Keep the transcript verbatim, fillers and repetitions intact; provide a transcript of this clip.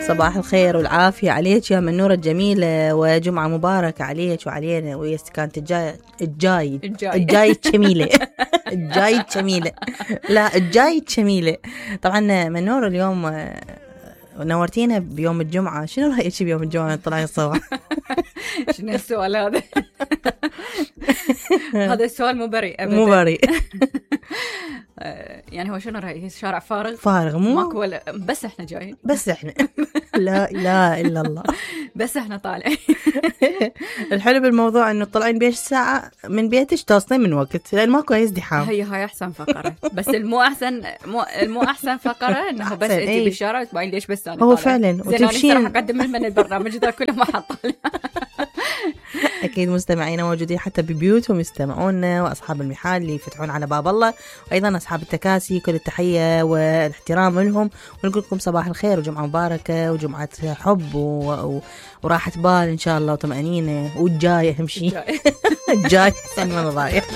صباح الخير والعافية عليك يا منورة الجميلة، وجمعة مباركة عليك وعلينا ويا كانت الجاي الجاي الجاي الجميلة الجاي الجميلة لا الجاي الجميلة. طبعا منورة اليوم نورتينا بيوم الجمعة، شنو رأيك بيوم الجمعة طلعي الصباح؟ شنو السؤال هذا؟ هذا السؤال مو بريء أبدا، مو بريء. يعني هو شنو رأيك؟ الشارع فارغ فارغ مو ماكو ولا بس احنا جايين، بس احنا لا لا إلا الله بس احنا طالعين. الحلو بالموضوع انه طلعين بيش ساعة من بيتش توصلين من وقت، لان ماكو اي ازدحام. هي هاي احسن فقرة، بس المو احسن مو المو احسن فقرة انه بس انت ايه؟ بالشارع تبين ليش بس انا هو فعلا وتمشين. راح اقدم من البرنامج ذا كله ما حط. اكيد مستمعينا موجودين حتى ببيوتهم يستمعونا، واصحاب المحال اللي يفتحون على باب الله، وايضا اصحاب التكاسي كل التحية والاحترام لهم، ونقول لكم صباح الخير وجمعة مباركة وجمعة حب و... و... وراحة بال ان شاء الله وطمأنينة، والجاي اهم شيء الجاي احسن من الضايع.